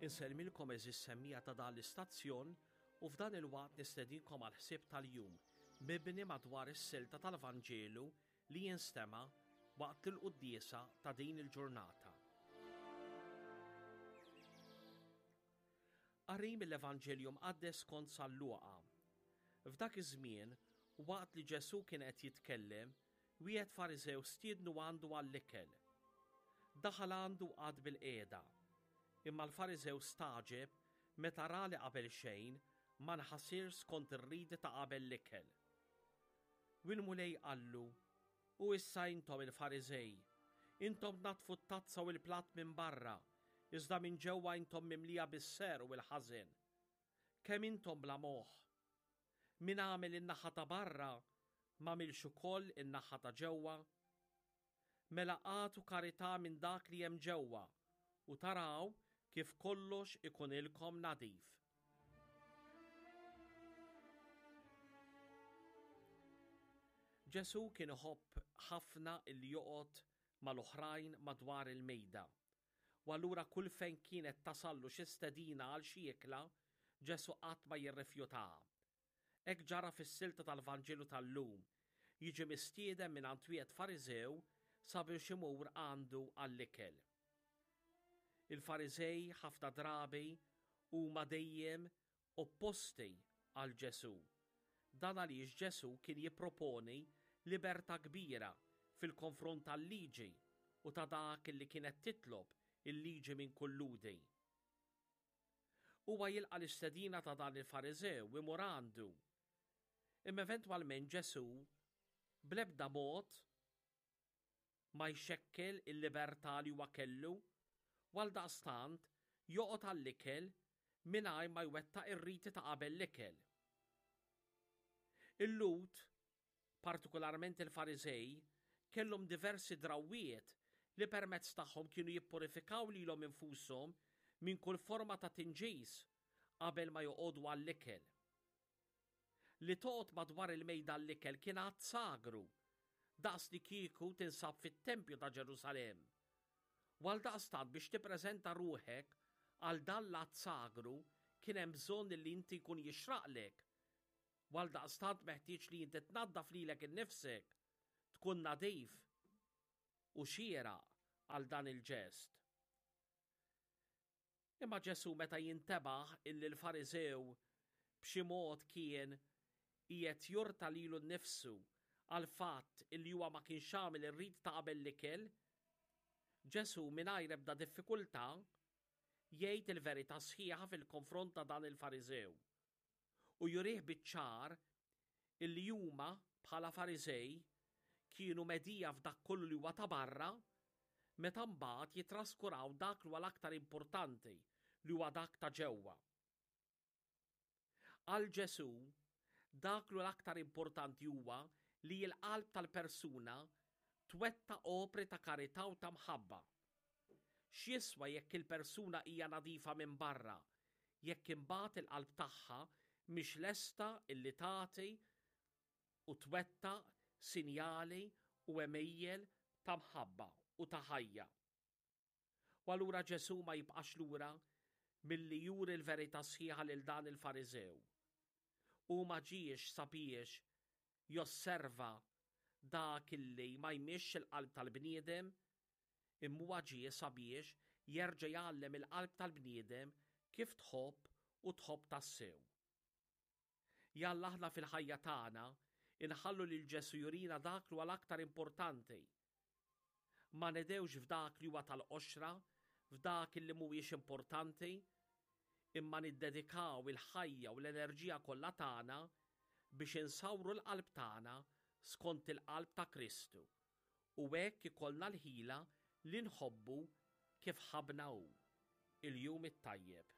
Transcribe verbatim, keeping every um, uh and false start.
Insellmilkom għeżież semmiegħa ta' dan l-istazzjon u f'dan il-waqt nistedinkom għal ħsieb tal-jum mibni madwar is-silta tal-Vanġelu li jinstema' waqt il-quddiesa ta' din il-ġurnata. Qari mill-Evanġelju Mqaddes skont San Luqa. F'dak iż-żmien, waqt li Ġesù kien qed jitkellem, wieħed Fariżew stiednu għandu għall-ikel. Daħal għandu qagħad bil-qiegħda. Imma l-Fariżew stagħġeb meta ra li qabel xejn ma nħasirx skont ir-riti ta' qabel l-ikel. U l-Mulej qallu, U issa intom il-Fariżej, intom tnaddfu t-tazza u l-platt minn barra, iżda minn ġewwa intom mimlija bis-serq u l-ħażen. Kemm intom bla moħħ? Min għamel in-naħa ta' barra m'għamilx ukoll in-naħa ta' ġewwa? Mela agħtu karità minn dak li hemm ġewwa u taraw kif kollox ikunilkom nadif. Ġesù kien iħobb ħafna illi joqgħod mal-oħrajn madwar il-mejda. U allura kull fejn kienet tasallu xi stedina għal xi ikla, Ġesù qatt ma jirrifjutaha. Hekk ġara fis-silta tal-Vanġelu tal-lum, jiġi mistieden mingħand wieħed Fariżew sabiex imur għandu għall-ikel. Il-Fariżej ħafna drabi huma dejjem opposti għal Ġesù. Dan għaliex Ġesù kien jipproponi libertà kbira fil-konfront tal-liġi u ta' dak li kienet titlob il-liġi minn kull Lhudi. Huwa jilqa' l-istedina ta' dan il-Fariżew imur għandu. Imma eventwalment Ġesù bl-ebda mod ma jxekkel il-libertà li huwa kellu, u għaldaqstant joqgħod għall-ikel mingħajr ma jwettaq ir-riti ta' qabel l-ikel. Il-Lhud, partikolarment il-Fariżej, kellhom diversi drawwiet li permezz tagħhom kienu jippurifikaw lilhom infushom minn kull forma ta' tinġis qabel ma joqogħdu għall-ikel. Li toqgħod madwar il-mejda għall-ikel kien att sagru, daqs li kieku tinsab fit-tempju ta' Ġerusalemm. U għaldaqstant biex tippreżenta ruħek għal dan l-att sagru kien hemm bżonn li inti jkun jixraqlek. U għaldaqstant meħtieġ li inti tnaddaf lilek innifsek, tkun nadif u xieraq għal dan il-ġest. Imma Ġesù meta jintebaħ illi l-Fariżew b'xi mod kien qiegħed jurta lilu nnifsu għal fatt illi huwa ma kienx għamel ir-rit ta' qabel l-ikel, Ġesù mingħajr ebda diffikultà jgħid il-verità sħiħa fil-konfront ta' dan il-Fariżew u jurih biċ-ċar illi huma bħala Fariżej kienu medija f'dak kollu li huwa ta' barra, meta mbagħad jitraskuraw dak li huwa l-aktar importanti, li huwa dak ta' ġewwa. Għal Ġesù, dak li huwa l-aktar importanti huwa li l-qalb tal-persuna twettaq opri ta' karità u ta' mħabba. X'jiswa jekk il-persuna hija nadifa minn barra, jekk imbagħad il-qalb tagħha mhix lesta illi tagħti u twettaq sinjali u għemejjel ta' mħabba u ta' ħajja. U allura Ġesù ma jibqax lura milli juri l-verità sħiħa lil dan il-Fariżew. U ma ġiex sabiex josserva dak illi ma jmixx il-qalb tal-bniedem, imma huwa ġie sabiex jerġa' jgħallem il-qalb tal-bniedem kif tħobb u tħobb tassew. Jalla aħna fil-ħajja tagħna inħallu lil Ġesù jurina dak li huwa l-aktar importanti. Ma nedewx f'dak li huwa tal-qoxra, f'dak li mhuwiex importanti, imma niddedikaw il-ħajja u l-enerġija kollha tagħna biex insawru l-qalb tagħna skont il-qalb ta' Kristu. U hekk ikollna l-ħila li nħobbu kif ħabna hu. Il-jum it-tajjeb.